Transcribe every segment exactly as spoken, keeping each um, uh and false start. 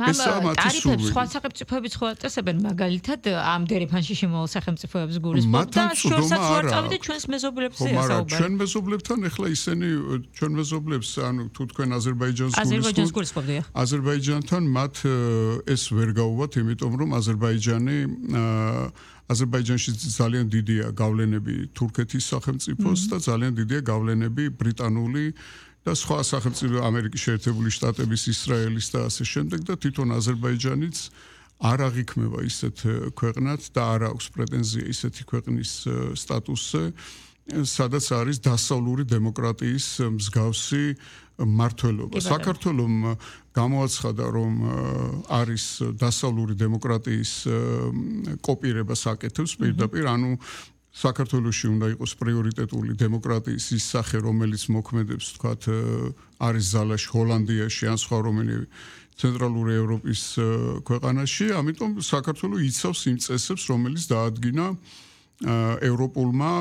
ტარიფებს სხვა სახელმწიფოებიც ხო აწესებენ მაგალითად ამ დერეფანში შემოვალ სახელმწიფოებს გულისხმობ და შორსაც ვარწავი და ჩვენს მეზობლებს ეასაუბარ. ჩვენ მეზობლებთან ეხლა ისინი ჩვენ მეზობლებს ანუ თუ თქვენ აზერბაიჯანს აზერბაიჯანს გულისხმობდია. აზერბაიჯანთან მათ ეს ვერ გაუვათ, იმიტომ რომ აზერბაიჯანი აზერბაიჯანში ძალიან დიდია გავლენები თურქეთის სახელმწიფოს და ძალიან დიდია გავლენები ბრიტანული და სხვა სახელმწიფო ამერიკის შეერთებული შტატების, ისრაელის და ასე შემდეგ და თვითონ აზერბაიჯანიც არ აღიქმება ისეთ ქვეყნად და არ აქვს პრეტენზია ისეთი ქვეყნის სტატუსზე, სადაც არის დასავლური დემოკრატიის მსგავსი მმართველობა. საქართველომ გამოაცხადა, რომ არის დასავლური დემოკრატიის კოპირებას აკეთებს პირდაპირ, ანუ საქართველოში უნდა იყოს პრიორიტეტული დემოკრატიის ის სახე, რომელიც მოქმედებს, თქვათ, არის ზალაში, ჰოლანდიაში ან სხვა რომელიმე ცენტრალური ევროპის ქვეყანაში, ამიტომ საქართველო იცავს იმ წესებს, რომელიც დაადგინა ევროპულმა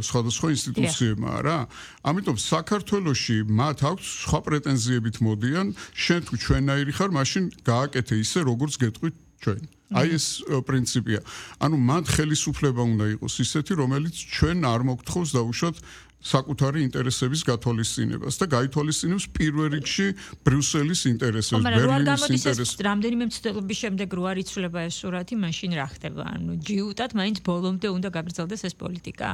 სხვადასხვა ინსტიტუციებმა რა. ამიტომ საქართველოში მათ აქვს სხვა პრეტენზიებით მოდიან, შენ თუ ჩვენნაირი ხარ, მაშინ გააკეთე ისე, როგორც გეტყვით ჩვენ. აი ეს პრინციპია. ანუ მათ ხელისუფლება უნდა იყოს ისეთი, რომელიც ჩვენ არ მოგთხოვს დაუშვათ საკუთარი ინტერესების გათვალისწინებას და გაითვალისწინებს პირველ რიგში ბრიუსელის ინტერესებს, ბერლინის ინტერესებს. რამდენიმე მცდელობის შემდეგ რო არ იცვლება ეს სურათი, მაშინ რა ხდება? ანუ ჯიუტად მაინც ბოლომდე უნდა გაგრძელდეს ეს პოლიტიკა.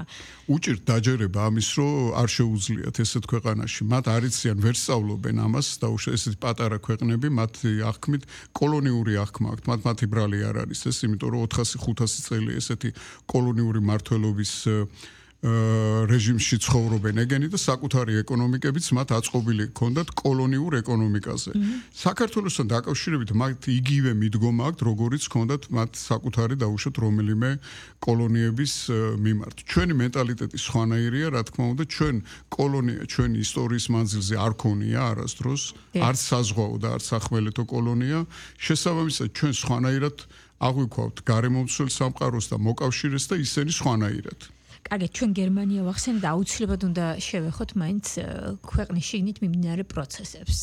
უჭირთ დაჯერება ამის, რომ არ შეუძლიათ ესეთ ქვეყანაში. მათ არ იციან, ვერ სწავლობენ ამას, დაუშვათ ესეთი პატარა ქვეყნები, მათი აღქმით კოლონიური აღქმა აქვთ, მათ მათი ბრალი არ არის ეს, იმიტომ რომ ოთხასი ხუთასი წელი ესეთი კოლონიური მმართველობის რეჟიმში ცხოვრობენ ეგენი და საკუთარი ეკონომიკებიც მათ აწყობილი ჰქონდათ კოლონიურ ეკონომიკაზე. საქართველოსთან დაკავშირებით მათ იგივე მიდგომა აქვთ, როგორიც ჰქონდათ მათ საკუთარი დაუშვათ რომელიმე კოლონიების მიმართ. ჩვენი მენტალიტეტი სხვანაირია, რა თქმა უნდა, ჩვენ კოლონია ჩვენი ისტორიის მანძილზე არ ქონია არასდროს, არც საზღვაო და არც სახმელეთო კოლონია. შესაბამისად, ჩვენ სხვანაირად აღვიქვავთ გარემომცველ სამყაროს და მოკავშირეს და ისინი სხვანაირად. კარგი, ჩვენ გერმანია ვახსენეთ და აუცილებლად უნდა შევეხოთ მაინც ქვეყნის შიგნით მიმდინარე პროცესებს.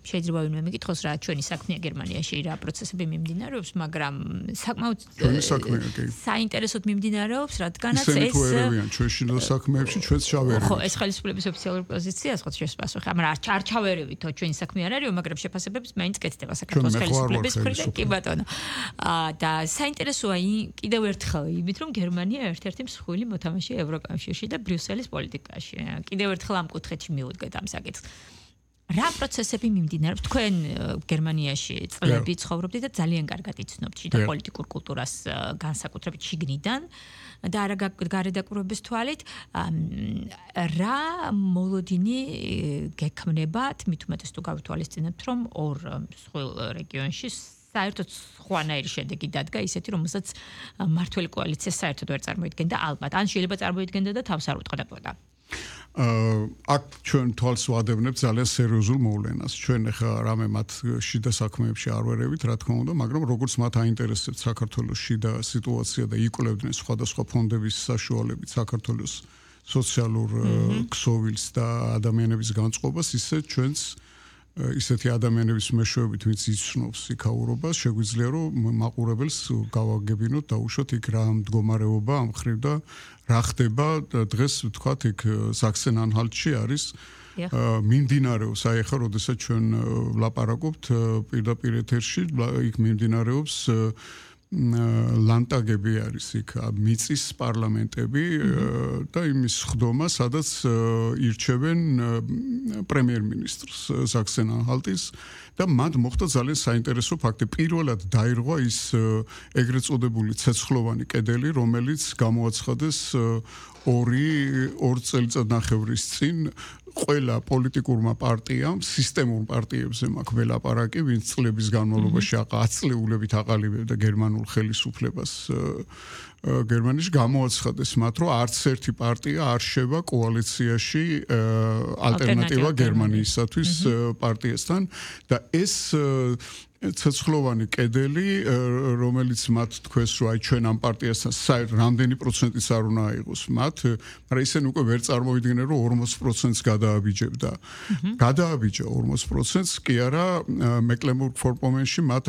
შეიძლება ვინმე მეკითხოს რა ჩვენი საქმეა გერმანიაში, რა პროცესები მიმდინარეობს, მაგრამ საკმაოდ საინტერესოდ მიმდინარეობს, რადგანაც ეს ჩვენში და საქმეებში ჩვენც ჩავერევით. ხო, ეს ხელისუფლების ოფიციალური პოზიცია, სხვა შეფასება პასუხი, მაგრამ არ ჩავერევით, ჩვენი საქმე არ არის, მაგრამ შეფასებებს მაინც კეთდება საქართველოს ხელისუფლების მხრიდან, კი ბატონო. და საინტერესოა კიდევ ერთხელ იმით, რომ გერმანია ერთ-ერთი მსხვილი მოთამაშე ევროკავშირში და ბრიუსელის პოლიტიკაში. კიდევ ერთხელ ამ კუთხეში მივუდგეთ ამ საკითხს. რა პროცესები მიმდინარეობს? თქვენ გერმანიაში წლები ცხოვრობდით და ძალიან კარგად იცნობთ შიდა პოლიტიკურ კულტურას განსაკუთრებით შიგნიდან და არა გარედაკურების თვალით. რა მოლოდინი გექმნებათ, მით უმეტეს თუ გავითვალისწინებთ, რომ ორ მსხვილ რეგიონში საერთოდ სხვანაირი შედეგი დადგა ისეთი, რომელსაც მმართველი კოალიცია საერთოდ ვერ წარმოიდგენდა ალბათ. ან შეიძლება წარმოიდგენდა და თავს არ უტყდაოდა. აქ ჩვენ თვალს ვადევნებთ ძალიან სერიოზულ მოვლენას. ჩვენ ახლა რამე მათ შიდა საქმეებში არ ვერევით, რა თქმა უნდა, მაგრამ როგორც მათ აინტერესებთ საქართველოს შიდა სიტუაცია და იკვლევდნენ სხვადასხვა ფონდების საშუალებით საქართველოს სოციალურ ქსოვილს და ადამიანების განწყობას, ისე ჩვენც ისეთი ადამიანების მეშვეობით, ვინც იცნობს იქაურობას, შეგვიძლია რომ მაყურებელს გავაგებინოთ დაუშვათ იქ რა მდგომარეობა ამ ხრივ და რა ხდება დღეს ვთქვათ იქ საქსენ-ანჰალტში არის მიმდინარეობს, აი ახლა როდესაც ჩვენ ვლაპარაკობთ პირდაპირ ეთერში, იქ მიმდინარეობს ლანდტაგები არის იქ მიწის პარლამენტები და იმის ხდომა, სადაც ირჩევენ პრემიერ-მინისტრს საქსენ-ანჰალტის და მათ მოხდა ძალიან საინტერესო ფაქტი. პირველად დაირღვა ის ეგრეთ წოდებული ცეცხლოვანი კედელი, რომელიც გამოაცხადეს ორი ორ წელიწადნახევრის წინ ყველა პოლიტიკურმა პარტიამ, სისტემურ პარტიებზე მაქვს ველაპარაკი, ვინც წლების განმავლობაში აწლეულებით აყალიბებდა გერმანულ ხელისუფლებას გერმანიაში, გამოაცხადეს მათ, რომ არც ერთი პარტია არ შევა კოალიციაში ალტერნატივა გერმანიისათვის პარტიასთან და ეს ცეცხლოვანი კედელი, რომელიც მათ თქვეს, რომ აი ჩვენ ამ პარტიასთან საერთოდ რამდენი პროცენტიც არ უნდა აიღოს მათ, მაგრამ ისინი უკვე ვერ წარმოიდგნენ, რომ ორმოც პროცენტს გადააბიჯებდა. გადააბიჯა ორმოც პროცენტს, კი არა, მეკლენბურგ-ფორპომენში მათ